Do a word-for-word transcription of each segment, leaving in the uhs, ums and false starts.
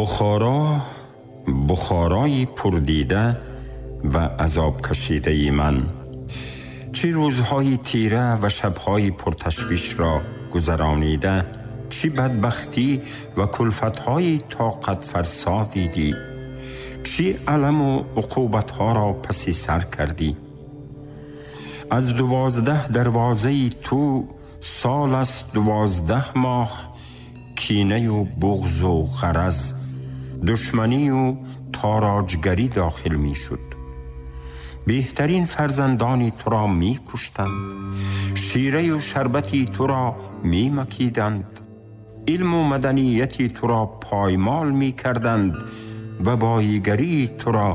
Бухоро, Бухорои пурдида ва азоб кашидаи ман, чӣ рӯзҳои тира ва шабҳои пурташвишро гузаронида, чӣ бадбахтӣ ва кулфатҳои тоқатфарсо дидӣ, чӣ аламу уқубатҳоро паси сар кардӣ. Аз дувоздаҳ дарвозаи ту сол аст дувоздаҳ моҳ кинаю буғзу ғараз, душманию тороҷгарӣ дохил мешуд. Беҳтарин фарзандони туро мекуштанд, шираю шарбати туро мемакиданд, илму маданияти туро поймол мекарданд ва боигарии туро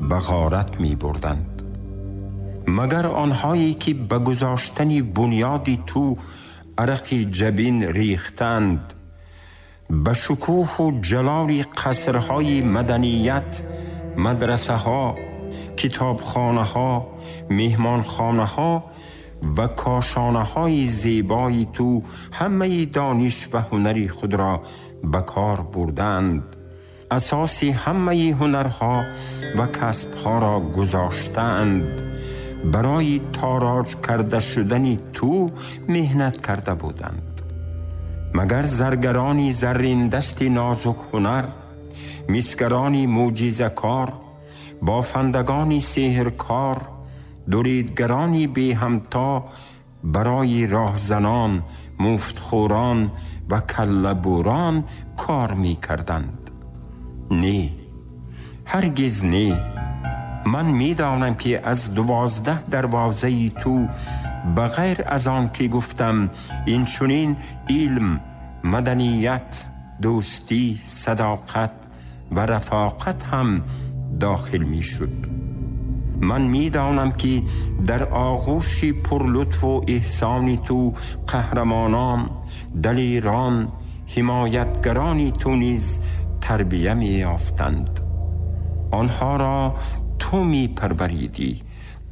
ба ғорат мебурданд. Магар онҳое ки ба гузоштани бунёди ту арақи ҷабин рехтанд, ба шукӯҳу ҷалоли қасрҳои маданият, мадрасаҳо, китобхонаҳо, меҳмонхонаҳо ва кошонаҳои зебои ту ҳамаи дониш ва ҳунари худро ба кор бурданд, асоси ҳамаи ҳунарҳо ва касбҳоро гузоштаанд, барои тороҷ карда шудани ту меҳнат карда буданд. Магар заргарони зарриндасти нозук ҳунар, мисгарони мӯъҷизакор, бофандагони сеҳркор, дуридгарони беҳамто барои роҳзанон, муфтхӯрон ва каллабурон кор мекарданд? Не, ҳаргиз не. Ман медонам ки аз дувоздаҳ дарвозаи ту ба ғайр аз он ки гуфтам, инчунин илм, маданият, дӯстӣ, садоқат ва рафоқат ҳам дохил мешуд. Ман медонам ки дар оғӯши пурлутфу эҳсони ту қаҳрамонон, далерон, ҳимоятгарони ту низ тарбия меёфтанд. Онҳоро ту мепарваридӣ,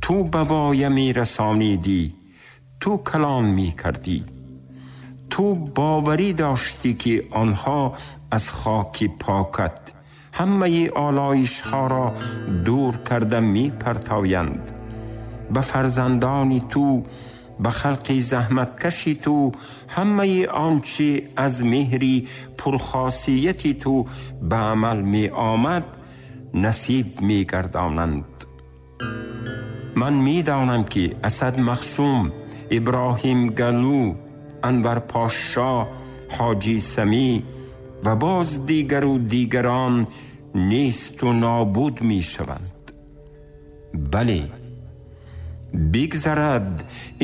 ту ба воя мерасонидӣ, ту калон мекардӣ. Ту боварӣ доштӣ ки онҳо аз хоки покат ҳамаи олоишҳоро дур карда мепартоянд. Ба фарзандони ту, ба халқи заҳматкаши ту ҳамаи он чи аз меҳри пурхосияти ту ба амал меомад насиб мегардонанд. Ман медонам ки Асад Махсум, Иброҳим Галу, Анвар Пошо, Ҳоҷи Самӣ ва боз дигару дигарон несту нобуд мешаванд. Бале, бигзарад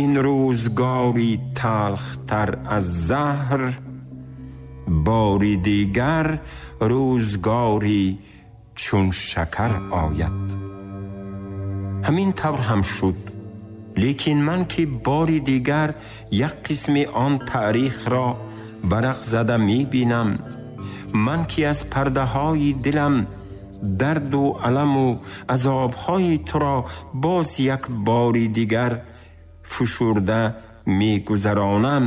ин рӯзгори талхтар аз заҳр, бори дигар рӯзгори чун шакар ояд. Ҳамин тавр ҳам шуд. Лекин ман ки бори дигар як қисми он таърихро варақ зада мебинам, ман ки аз пардаҳои дилам дарду аламу азобҳои туро боз як бори дигар фишурда мегузаронам,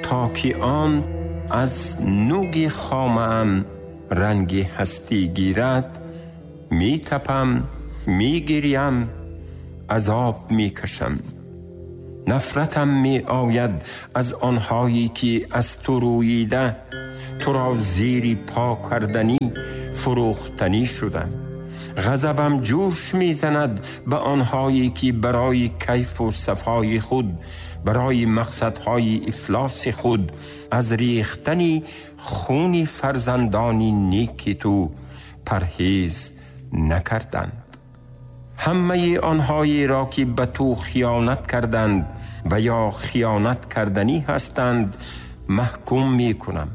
то ки он аз нуги хомаам ранги ҳастӣ гирад, метапам, мегирям, азоб мекашам. Нафратам меояд аз онҳое ки аз ту рӯида туро зери по карданӣ, фурӯхтанӣ шуданд. Ғазабам ҷӯш мезанад ба онҳое ки барои кайфу сафои худ, барои мақсадҳои ифлоси худ аз рехтани хуни фарзандони неки ту парҳез накарданд. Ҳамаи онҳоеро ки ба ту хиёнат карданд ва ё хиёнат карданӣ ҳастанд маҳкум мекунам.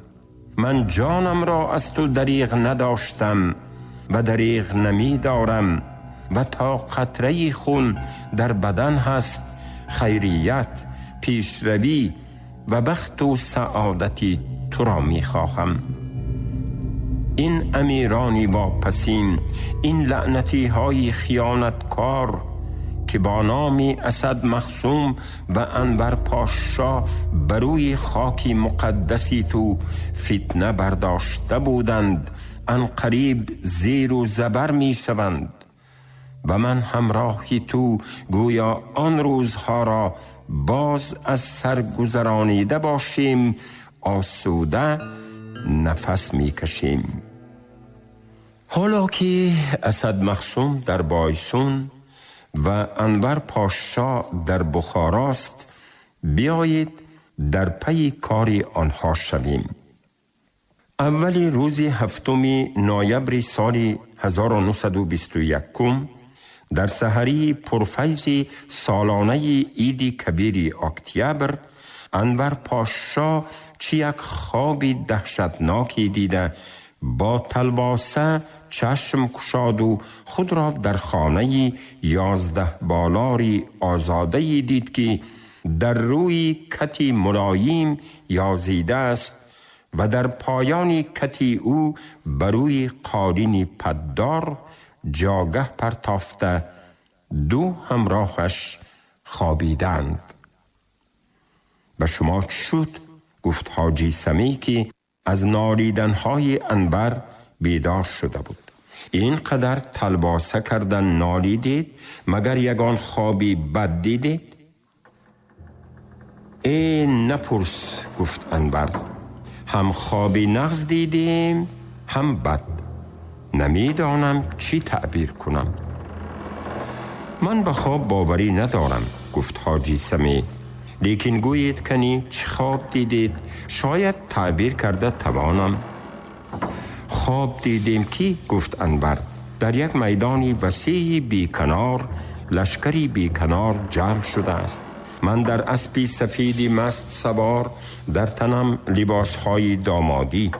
Ман ҷонамро аз ту дариғ надоштам ва дариғ намедорам ва то қатраи хун дар бадан ҳаст, хайрият, пешравӣ ва бахту саодати туро мехоҳам. Ин амирони вопасин, ин лаънатиҳои хиёнаткор ки که با نام اسد مخصوم و انور پاشا بروی خاکی مقدسی تو فتنه برداشته بودند ان قریب زیر و زبر می شوند و من همراهی تو گویا آن روزها را باز از سر گذرانیده باشیم، آسوده نفس می کشیم. حالا که اسد مخصوم در بایسون و انور پاشا در بخاراست، بیایید در پی کار آنها شویم. اولی روز هفتم نوامبر سال هزار و نهصد و بیست و یک در سحری پرفیض سالانه عید کبیر اکتبر، انور پاشا چی یک خواب دهشتناکی دیده با تلواسه چشم گشاد و خود را در خانه یازده بالاری آزاده دید که در روی کتی ملایم یازیده است و در پایان کتی او بروی قالین پدار جاگه پرتافته دو همراهش خوابیدند. به شما چه شد؟ گفت حاجی سمی که از نالیدنهای انور بیدار شده بود. این قدر تلواسه کردن نالیدید مگر یگان خوابی بد دیدید؟ ای نپرس، گفت انور، هم خوابی نغز دیدیم هم بد، نمیدانم چی تعبیر کنم. من به خواب باوری ندارم، گفت حاجی سمی، لیکن گویید کنی چه خواب دیدید، شاید تعبیر کرده توانم. خواب دیدیم که، گفت انور، در یک میدانی وسیع بی کنار لشکری بی کنار جمع شده است. من در اسبی سفیدی مست سوار، در تنم لباسهای دامادی.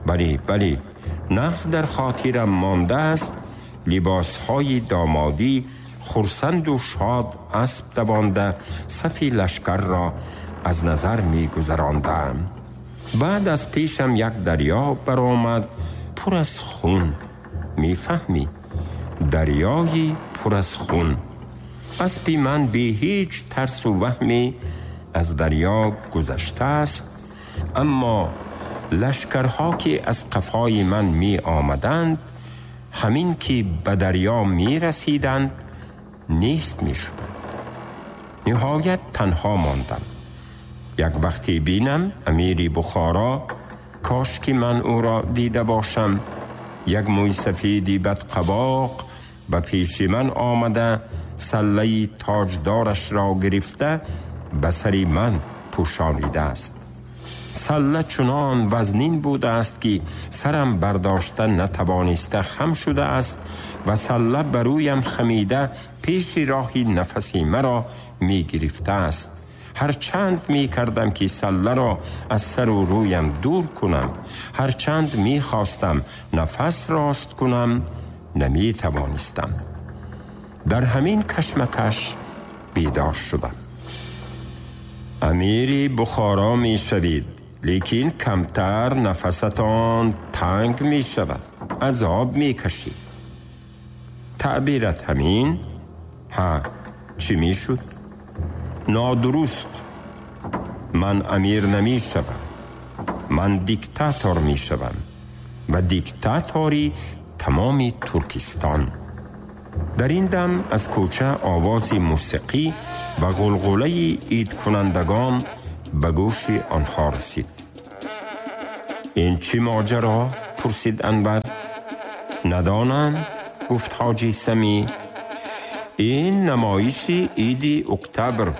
بلی بلی، نغز در خاطرم مانده است، لباسهای دامادی، خرسند و شاد اسب دوانده صفی لشکر را از نظر می گذراندم. بعد از پیشم یک دریا برآمد پر از خون. می فهمی؟ دریایی پر از خون. اسبی من بی هیچ ترس و وهمی از دریا گذشته است، اما لشکرها که از قفای من می آمدند همین که به دریا می رسیدند نیست می شدند. نهایت تنها ماندم. یک وقتی بینم امیری بخارا، کاش که من او را دیده باشم، یک موی سفیدی بدقباق به پیش من آمده، سله تاجدارش را گرفته به سر من پوشانیده است. سله چنان وزنین بوده است که سرم برداشته نتوانسته خم شده است و سله برویم خمیده پیش راهی نفسی مرا می گرفته است. هر چند می کردم که سله را از سر و رویم دور کنم، هر چند می خواستم نفس راست کنم، نمی توانستم. در همین کشمکش بیدار شدم. امیری بخارا می شوید، لیکن کمتر نفستان تنگ می شود، عذاب می کشید. تعبیرت همین؟ ها، چی می شد؟ نادرست. من امیر نمی شوم، من دیکتاتور می شوم و دیکتاتوری تمام ترکستان. در این دم از کوچه آواز موسیقی و غلغله عید کنندگان به گوش آنها رسید. این چی ماجرا؟ پرسید انور. ندانم، گفت حاجی سمی. این نمایش عید اکتبر،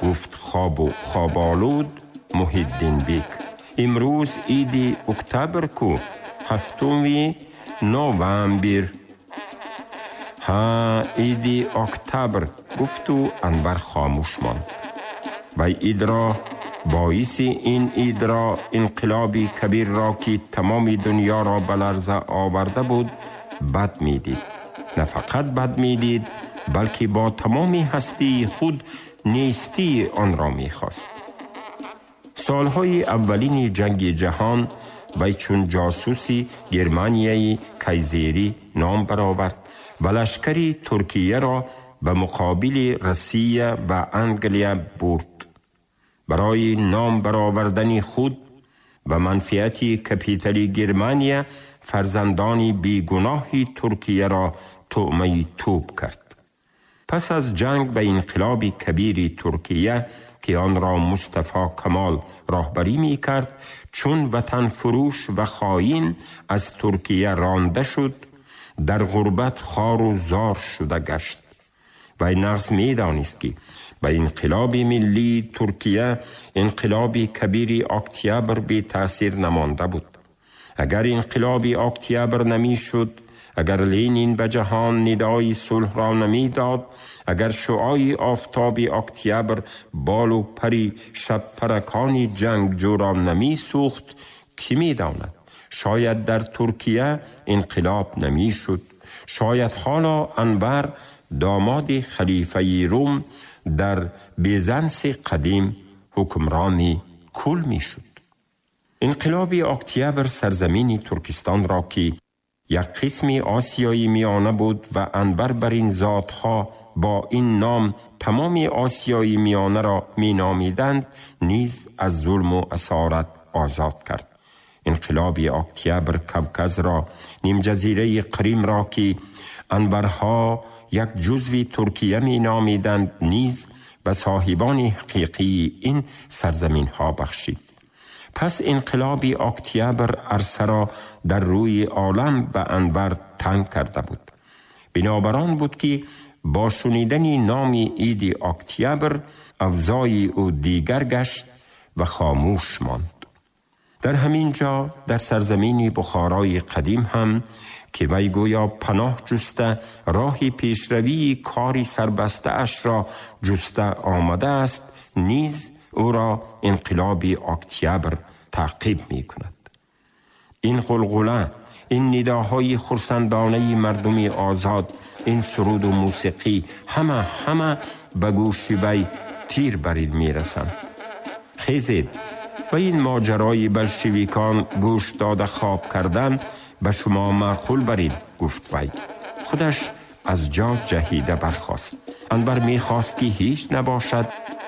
گفت خواب و خوابالود محی‌الدین بیک. امروز عید اکتبر کو، هفتم نوامبر. ها، عید اکتبر، گفت و انور خاموش ماند. و عید را باعث این عید را انقلاب کبیر را که تمام دنیا را به لرزه آورده بود بد میدید. نه فقط بد میدید، بلکه با تمام هستی خود نیستی آن را میخواست. سالهای اولین جنگ جهان وی چون جاسوسی گرمانیای کایزری نام برآورد و لشکری ترکیه را به مقابل روسیه و انگلیه برد. برای نام برآوردن خود و منفعت کپیتال گرمانیا فرزندان بیگناه ترکیه را طعمه توپ کرد. پس از جنگ و انقلاب کبیر ترکیه که آن را مصطفی کمال راهبری می کرد، چون وطن فروش و خائن از ترکیه رانده شد، در غربت خار و زار شده گشت. و نغز می دانست که به انقلاب ملی ترکیه انقلاب کبیر اکتبر بی تاثیر نمانده بود. اگر انقلاب اکتبر نمی شد، اگر لینین به جهان ندای صلح را نمی داد، اگر شعاع آفتاب اکتبر بال و پری شب پرکان جنگجو را نمی سوخت، کی می داند؟ شاید در ترکیه انقلاب نمی شد. شاید حالا انور داماد خلیفه روم در بیزانس قدیم حکمرانی کل می شد. انقلاب اکتبر سرزمین ترکستان را که یک قسم آسیای میانه بود و انور بر این ذاتها با این نام تمام آسیای میانه را می نامیدند، نیز از ظلم و اسارت آزاد کرد. انقلاب اکتبر کوکز را، نیم جزیره قریم را که انورها یک جزوی ترکیه می نامیدند، نیز به صاحبان حقیقی این سرزمین ها بخشید. پس انقلاب اکتبر عرصه را در روی عالم به انور تنگ کرده بود. بنابران بود که با شنیدن نام عید اکتبر اوضاع او دیگر گشت و خاموش ماند. در همین جا در سرزمین بخارای قدیم هم که وی گویا پناه جسته راه پیشروی کاری سربسته اش را جسته آمده است، نیز او را انقلاب اکتبر تعقیب می کند. این غلغله، این نداهای خرسندانه مردم آزاد، این سرود و موسیقی، همه همه به گوش وی تیر برین می رسند. خیزید و این ماجرای بلشویکان گوش داده خواب کردن به شما معقول برین، گفت وی. خودش از جا جهیده برخاست. انور میخواست که هیچ نباشد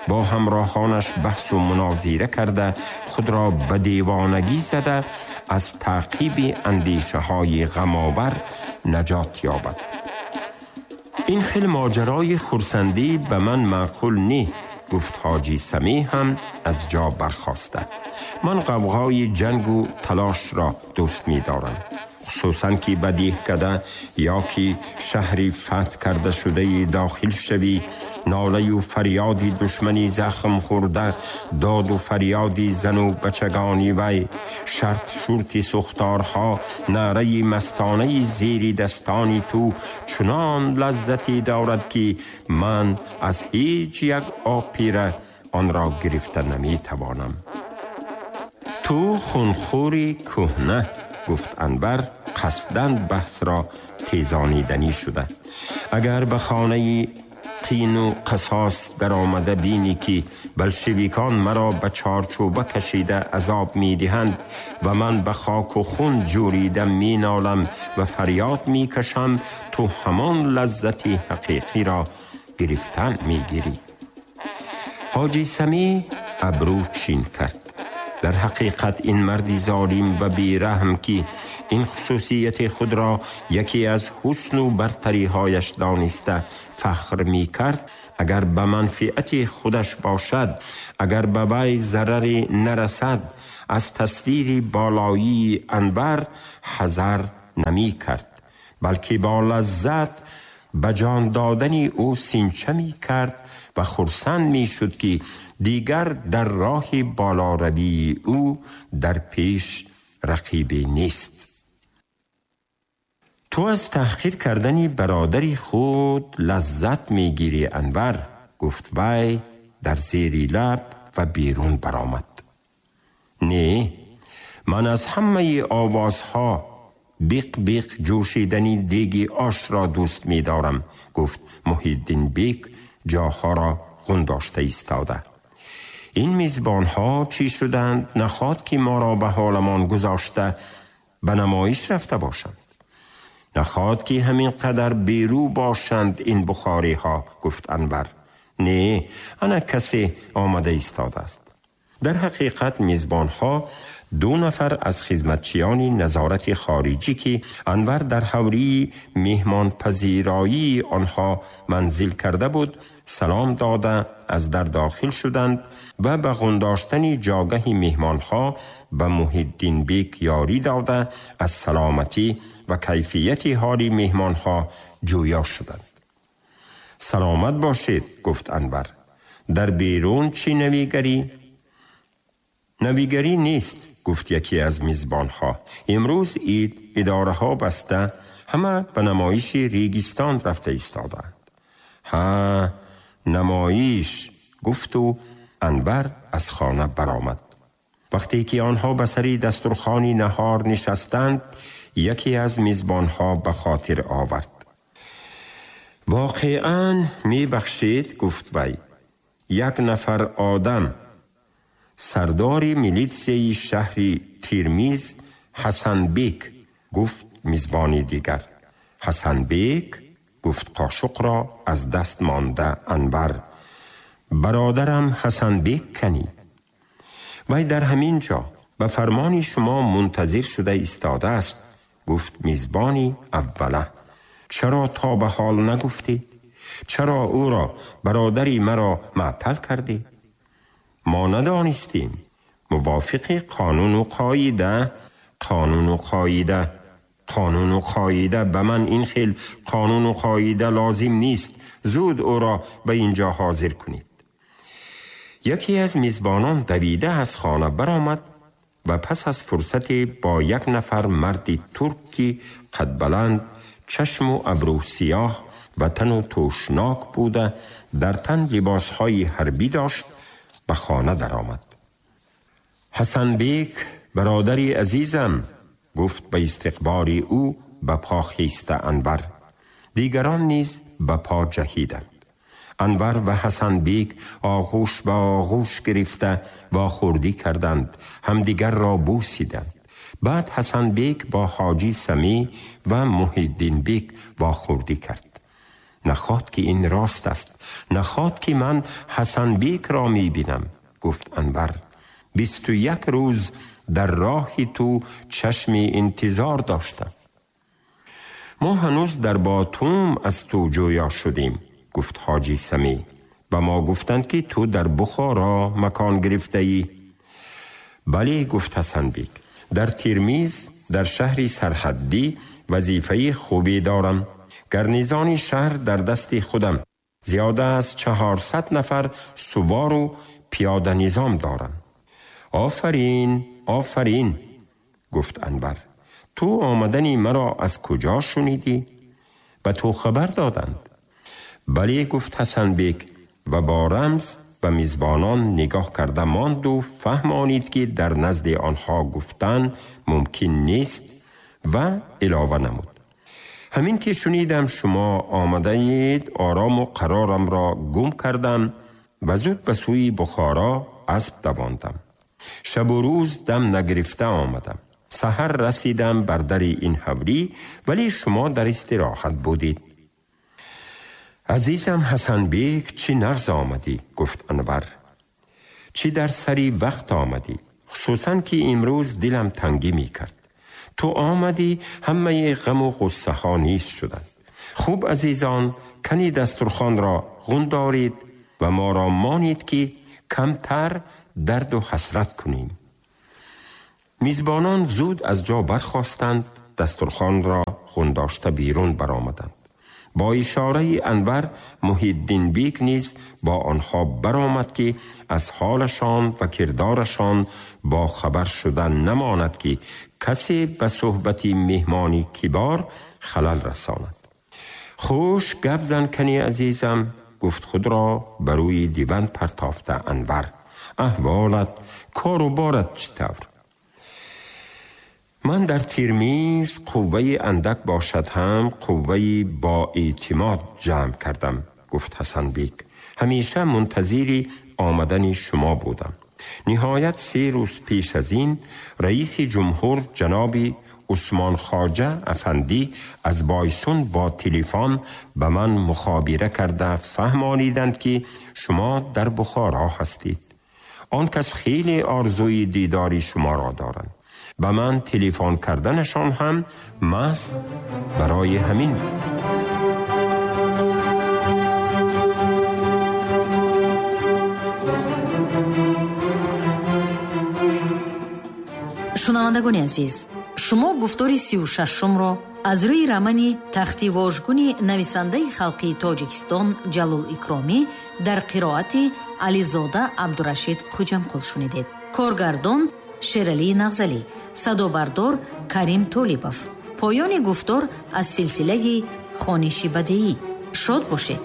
با همراهانش بحث و مناظره کرده خود را به دیوانگی زده از تعقیب اندیشه های غم‌آور نجات یابد. این خیل ماجرای خرسندی به من معقول نی، گفت حاجی سمی هم از جا برخاسته. من غوغای جنگ و تلاش را دوست می دارم، خصوصا که به دهکده یا که شهری فتح کرده شده داخل شوی، ناله و فریادی دشمنی زخم خورده، داد و فریادی زن و بچگانی وی، شرط شورتی سختارها، نعره مستانه زیری دستانی تو چنان لذتی دارد که من از هیچ یک آپیره آن را گرفته نمی توانم. تو خونخوری کهنه، گفت انور قصداً بحث را تیزانیدنی شده. اگر به خانه قین و قصاص در آمده بینی که بلشویکان مرا به چارچوبه کشیده عذاب می دهند و من به خاک و خون جوریده می نالم و فریاد می کشم، تو همان لذت حقیقی را گرفتن می گیری. حاجی سمی ابرو چین کرد. در حقیقت این مردی ظالم و بیرحم که این خصوصیت خود را یکی از حسن و برتری هایش دانسته فخر می کرد، اگر به منفعت خودش باشد، اگر به وی ضرری نرسد، از تصویر بالایی انور حذر نمی کرد، بلکه با لذت به جان دادن او سینچه می کرد و خرسند می شد که دیگر در راه بالاروی او در پیش رقیبی نیست. تو از تحقیر کردن برادر خود لذت می گیری انور، گفت وی در زیر لب و بیرون برآمد. نه، من از همه آوازها بیق بیق جوشیدنی دیگی آش را دوست می دارم، گفت محی‌الدین بیک جاها را غنداشته ایستاده. این میزبان ها چی شدند نخواد که ما را به حالمان گذاشته به نمایش رفته باشند. نخواد که همین قدر بیرو باشند این بخاری ها، گفت انور. نه، انا کسی آمده ایستاده است. در حقیقت میزبان ها دو نفر از خدمتچیان نظارت خارجی که انور در حوری مهمان پذیرایی آنها منزل کرده بود سلام داده از در داخل شدند و به غنداشتن جاگه مهمانها به محی‌الدین بیک یاری داده از سلامتی و کیفیت حال مهمانها جویا شدند. سلامت باشید، گفت انور. در بیرون چی نویگری؟ نویگری نیست، گفت یکی از میزبانها. امروز عید، اداره ها بسته، همه به نمایش ریگستان رفته ایستادند. ها، نمایش، گفت و انور از خانه برآمد. وقتی که آنها به سری دسترخوانی نهار نشستند، یکی از میزبانها به خاطر آورد. واقعا می بخشید، گفت وی. یک نفر آدم، سردار میلیتسی شهری تیرمیز، حسن بیک، گفت میزبانی دیگر. حسن بیک، گفت قاشق را از دست مانده انور. برادرم حسن بیک کنی. وی در همین جا به فرمان شما منتظر شده ایستاده است، گفت میزبانی اوله. چرا تا به حال نگفتید؟ چرا او را، برادری مرا معطل کردید؟ ما ندانستیم. موافق قانون و قاعده، قانون و قاعده، قانون و قاعده. به من این خیل قانون و قاعده لازم نیست. زود او را به اینجا حاضر کنید. یکی از میزبانان دویده از خانه برآمد و پس از فرصت با یک نفر مرد ترکی قد بلند، چشم و ابرو سیاه و تن و توشناک بوده، در تن لباسهای حربی داشت، به خانه درآمد. حسن بیک، برادری عزیزم، گفت به استقبال او به پا خیسته انور. دیگران نیز به پا جهیدند. انور و حسن بیک آغوش به آغوش گرفته و خوردی کردند، همدیگر را بوسیدند. بعد حسن بیک با حاجی سمی و محی‌الدین بیک واخوردی کرد. نخواد که این راست است، نخواد که من حسن بیک را می بینم، گفت انور. بیست و یک روز در راه تو چشم انتظار داشتم. ما هنوز در باتوم از تو جویا شدیم، گفت حاجی سمی. و ما گفتند که تو در بخارا مکان گرفته ای. بله، گفت حسن بیک. در تیرمیز در شهری سرحدی وظیفه خوبی دارم. گرنیزان شهر در دست خودم. زیاده از چهارصد نفر سوار و پیاده نظام دارم. آفرین، آفرین، گفت انور. تو آمدنی مرا از کجا شنیدی؟ به تو خبر دادند. بله، گفت حسن بیک و با رمز به میزبانان نگاه کرده ماند و فهمانید که در نزد آنها گفتن ممکن نیست و علاوه نمود. همین که شنیدم شما آمده اید، آرام و قرارم را گم کردم و زود به سوی بخارا اسب دواندم. شب و روز دم نگرفته آمدم. سحر رسیدم بر در این حولی، ولی شما در استراحت بودید. عزیزم حسن بیک، چی نغز آمدی، گفت انور. چی در سری وقت آمدی، خصوصا که امروز دلم تنگی می کرد. تو آمدی همه غم و غصه ها نیست شدند. خوب عزیزان، کنی دسترخوان را غن دارید و ما را مانید که کمتر درد و حسرت کنیم. میزبانان زود از جا برخاستند، دسترخوان را غن داشته بیرون برآمدند. با اشاره انور محی‌الدین بیک نیز با آنها برآمد که از حالشان و کردارشان با خبر شدن نماند که کسی به صحبت مهمانی کبار خلل رساند. خوش گپ زن کنی عزیزم، گفت خود را بر روی دیوان پرتافته انور. احوالت، کار و بارت چطور؟ من در تیرمیز قوه اندک باشد هم قوه با اعتماد جمع کردم، گفت حسن بیک. همیشه منتظر آمدن شما بودم. ниҳоят се рӯз пеш аз ин раиси ҷумҳур ҷаноби Усмон Хоҷа афандӣ аз Бойсун бо телефон ба ман мухобира карда фаҳмониданд, ки шумо дар Бухоро ҳастед. Он кас хеле орзуи дидори шуморо доранд. Ба ман телефон карданашон ҳам маҳз барои ҳамин буд. Шунавандагони азиз, шумо гуфтори сию шашумро аз рӯи романи Тахти вожгуни нависандаи халқии Тоҷикистон Ҷалол Икромӣ дар қироати Ализода Абдурашид Хуҷамқул шунидед. Коргардон Шералии Нағзалӣ, садобардор Карим Толибов. Поёни гуфтор аз силсилаи хониши бадеӣ. Шод бошед.